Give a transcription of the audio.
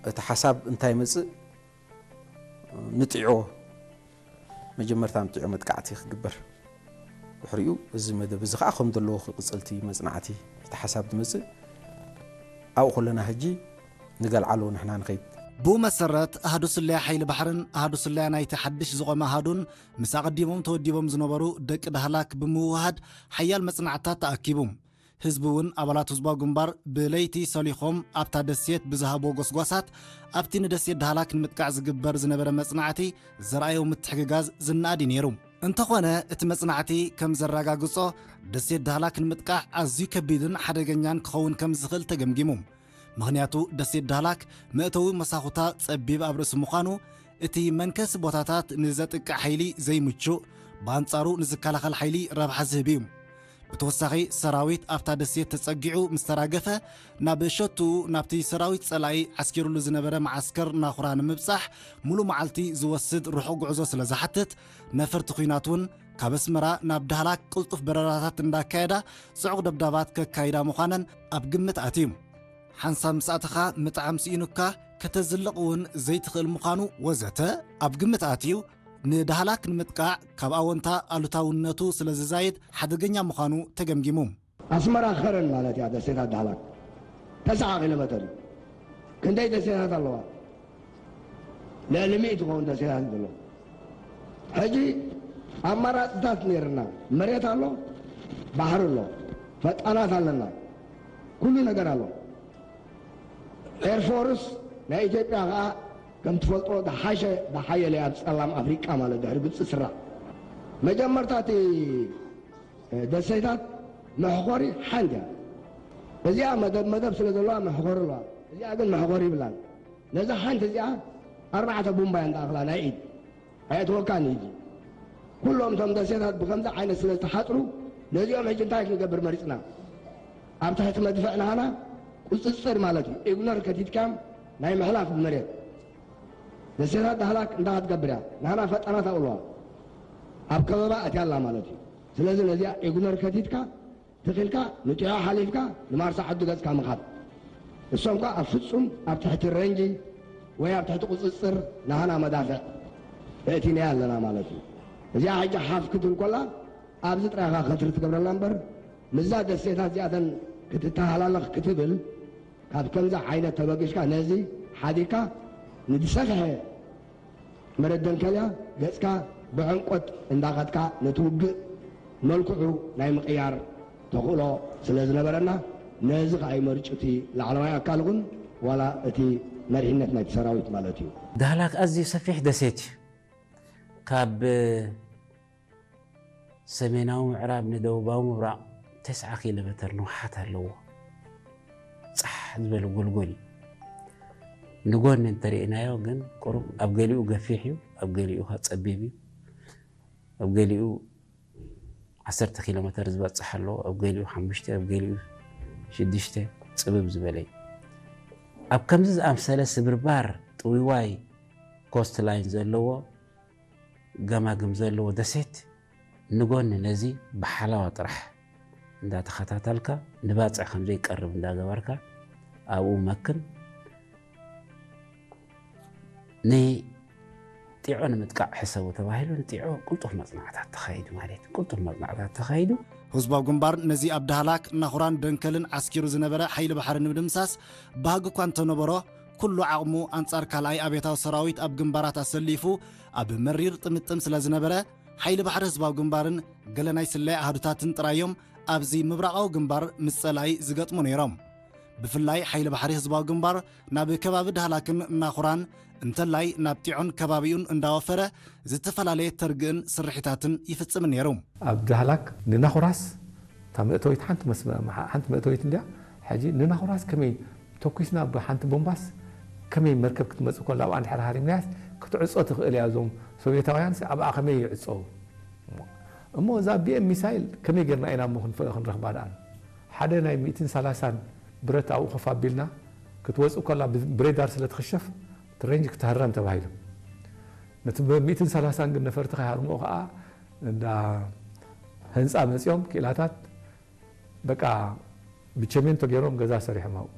እቲ ሓሳብ እንታይ መጽእ ንጥዕዎ መጀመርታ ንጥዕዎ መጥቃዕቲ ክግበር ድሕሪኡ እዚ መደብ እዚ ከዓ ከም ዘለዎ ክቅጽልቲ መጽናዕቲ እቲ ሓሳብ ትመጽእ ኣብኡ ከለና ሕጂ ንገልዓሎ ንሕና ንኸይድ። ብኡ መሰረት ኣህዱ ስለያ ሓይሊ ባሕርን ኣህዱ ስለያ ናይቲ ሓድሽ ዝቖመ ኣሃዱን ምስ ኣቐዲሞም ተወዲቦም ዝነበሩ ደቂ ዳህላክ ብምውህሃድ ሓያል መጽናዕትታት ተኣኪቡ። ህዝቢ እውን ኣባላት ህዝባዊ ግንባር ብለይቲ ሰሊኾም ኣብታ ደሴት ብዝሃብዎ ጎስጓሳት ኣብቲ ንደሴት ዳህላክ ንምጥቃዕ ዝግበር ዝነበረ መጽናዕቲ ዘርኣዮ ምትሕግጋዝ ዝነኣድ እዩ ነይሩ። እንተኾነ እቲ መጽናዕቲ ከም ዘረጋግጾ ደሴት ዳህላክ ንምጥቃዕ ኣዝዩ ከቢድን ሓደገኛን ክኸውን ከም ዝኽእል ተገምጊሙ። ምኽንያቱ ደሴት ዳህላክ መእተዊ መሳኹታ ጸቢብ ኣብ ርእሲ ምዃኑ እቲ መንከሲ ቦታታት ንዘጥቅዕ ሓይሊ ዘይምቹእ፣ ብኣንጻሩ ንዝከላኸል ሓይሊ ረብሓ ዝህብ እዩ። ብተወሳኺ ሰራዊት ኣብታ ደሴት ተጸጊዑ ምስ ተራገፈ ናብ ሸቱ ናብቲ ሰራዊት ጸላኢ ዓስኪሩሉ ዝነበረ መዓስከር ናኹራ ንምብጻሕ ሙሉ መዓልቲ ዝወስድ ርሑቕ ጉዕዞ ስለ ዝሓትት ነፈርቲ ኲናት እውን ካብ ኣስመራ ናብ ዳህላክ ቅልጡፍ በረራታት እንዳካየዳ ጽዑቕ ደብዳባት ከካይዳ ምዃነን ኣብ ግምት ኣትዩ። ሓንሳብ ምስ ኣተኻ ምጥዓም ስኢኑካ ከተዝልቕ እውን ዘይትኽእል ምዃኑ ወዘተ ኣብ ግምት ኣትዩ ንዳህላክ ንምጥቃዕ ካብ ኣወንታ ኣሉታውነቱ ስለ ዝዛይድ ሓደገኛ ምዃኑ ተገምጊሙ። ኣስመራ ኸረን ማለት እያ ደሴታት ዳህላክ ተስዓ ኪሎ ሜተር እዩ። ክንደይ ደሴታት ኣለዋ? ልዕሊ ሚእቲ ትኸውን ደሴታት እዩ ዘሎ። ሕጂ ኣማራፅታት ነይርና መሬት ኣሎ፣ ባሕሪ ኣሎ፣ ፈጣናት ኣለና፣ ኩሉ ነገር ኣሎ። ኤርፎርስ ናይ ኢትዮጵያ ከዓ ከም ትፈልጦ ዝሓሸ ዝሓየለ ኣብ ፀላም ኣፍሪቃ ማለት ድሕሪ ግብፂ ስራሕ መጀመርታ እቲ ደሴታት መሕኾሪ ሓንቲ እያ። እዚኣ መደብ መደብ ስለ ዘለዋ መሕኾሪ ኣለዋ። እዚኣ ግን መሕኾሪ ይብላን። ነዛ ሓንቲ እዚኣ ኣርባዕተ ቡምባ እያ እንዳኣኽላ ናይ ኢድ ኣየትወካን እዩ። ኩሎም እቶም ደሴታት ብከምዚ ዓይነት ስለ ዝተሓፅሩ ነዚኦም ሕጂ እንታይ ክንገብር መሪፅና? ኣብ ትሕቲ መድፍዕ ናህና ቁፅፅር ማለት እዩ። ኢግኖር ከቲትካም ናይ ምሕላፍ ብመሬት ደሴታት ዳህላክ እንታይ ክትገብር እያ? ናህና ፈጣናት ኣብልዋ ኣብ ከበባ ኣትያ ኣላ ማለት እዩ። ስለዚ ነዚኣ ኢግኖር ከቲትካ ትኺልካ ንጥዖ ሓሊፍካ ንማርሳ ዓዲ ገጽካ ምኻድ። እሶም ከኣ ኣብ ፍጹም ኣብ ትሕቲ ረንጂ ወይ ኣብ ትሕቲ ቁጽጽር ናህና መዳፍዕ እእቲናያ ኣለና ማለት እዩ። እዚኣ ሕጂ ሓፍ ክትብል ኮላ ኣብዚ ጥራይኻ ከትሪ ትገብረላ እምበር ምዛ ደሴታት እዚኣተን ክትተሃላለኽ ክትብል ካብ ከምዚ ዓይነት ተበጊስካ ነዚ ሓዲግካ ንዝሰፍሐ መረደንከልያ ገጽካ ብዕምቆት እንዳኸድካ ነቲ ውግእ መልክዑ ናይ ምቕያር ተኽእሎ ስለ ዝነበረና ነዚ ከኣ ይመርጭ እቲ ላዕለዋይ ኣካል እውን ዋላ እቲ መሪሕነት ናይቲ ሰራዊት ማለት እዩ። ዳህላክ ኣዝዩ ሰፊሕ ደሴት እዩ። ካብ ሰሜናዊ ምዕራብ ንደቡባዊ ምብራቕ ተስዓ ኪሎ ሜተር ንውሓት ኣለዎ። ጻሕ ዝበለ ጎልጎል እዩ። ንጎኒ እንተሪእናዮ ግን ቁሩብ ኣብ ገሊኡ ገፊሕ እዩ፣ ኣብ ገሊኡ ከኣ ጸቢብ እዩ። ኣብ ገሊኡ ዓሰርተ ኪሎ ሜተር ዝበጽሕ ኣለዎ፣ ኣብ ገሊኡ ሓሙሽተ፣ ኣብ ገሊኡ ሽዱሽተ ጽብብ ዝበለ እዩ። ኣብ ከምዚ ዝኣምሰለ ስብርባር ጥውይዋይ ኮስት ላይን ዘለዎ ገማግም ዘለዎ ደሴት ንጎኒ ነዚ ብሓላዋ ጥራሕ እንዳተኸታተልካ ንባጽዕ ከም ዘይቀርብ እንዳገበርካ ኣብኡ መክን። ንጢዖ ንምጥቃዕ ሕሰቡ ተባሂሉ ንጢዖ ቅልጡፍ መጽናዕታት ተኻይዱ ማለት እዩ። ቅልጡፍ መጽናዕታት ተኻይዱ። ህዝባዊ ግንባር ነዚ ኣብ ዳህላክ፣ ናኹራን ደንከልን ዓስኪሩ ዝነበረ ሓይሊ ባሕሪ ንምድምሳስ ባህጊ እኳ እንተነበሮ፣ ኩሉ ዓቕሙ ኣንጻር ካልኣይ ኣብዮታዊ ሰራዊት ኣብ ግንባራት ኣሰሊፉ ኣብ መሪር ጥምጥም ስለ ዝነበረ፣ ሓይሊ ባሕሪ ህዝባዊ ግንባርን ገለ ናይ ስለያ ኣሃዱታትን ጥራይ እዮም ኣብዚ ምብራቓዊ ግንባር ምስ ጸላኢ ዝገጥሙ ነይሮም። ብፍላይ ሓይሊ ባሕሪ ህዝባዊ ግንባር ናብ ከባቢ ዳህላክን ናኹራን እንተላይ ናብ ጢዖን ከባቢኡን እንዳወፈረ ዝተፈላለየ ተርግእን ስርሒታትን ይፍጽም ነይሩ። ኣብ ዳህላክ ንናኹራስ እታ መእተዊት ሓንቲ መስመ-፣ ሓንቲ መእተዊት እንድያ። ሕጂ ንናኹራስ ከመይ ተኩስና ብሓንቲ ቦምባስ ከመይ መርከብ ክትመጽእ ከላ ኣብኣ እንድሕር ሃሪምናያስ ክትዕጾ ትኽእል እያ። እዞም ሶቪየታውያንስ ኣብኣ ከመይ ይዕጸው? እሞ እዛ ቢ ኤም ሚሳይል ከመይ ጌርና ኢና እሞ ክንፈ-፣ ክንረኽባ ደኣ? ሓደ ናይ ሚእትን ሰላሳን ብረት ኣብኡ ኮፍ ኣቢልና ክትወጽእ ከላ ብ-፣ ብሬዳር ስለ ትኽሸፍ እቲ ሬንጅ ክትህረም ተባሂሉ። ነቲ ብ-፣ ሚእትን ሰላሳን ግን ነፈርቲ ከይሃርምኦ ከኣ እንዳ ህንጻ መጺኦም ክኢላታት በቃ ብቸሜንቶ ገይሮም ገዛ ሰሪሖም ኣብኡ።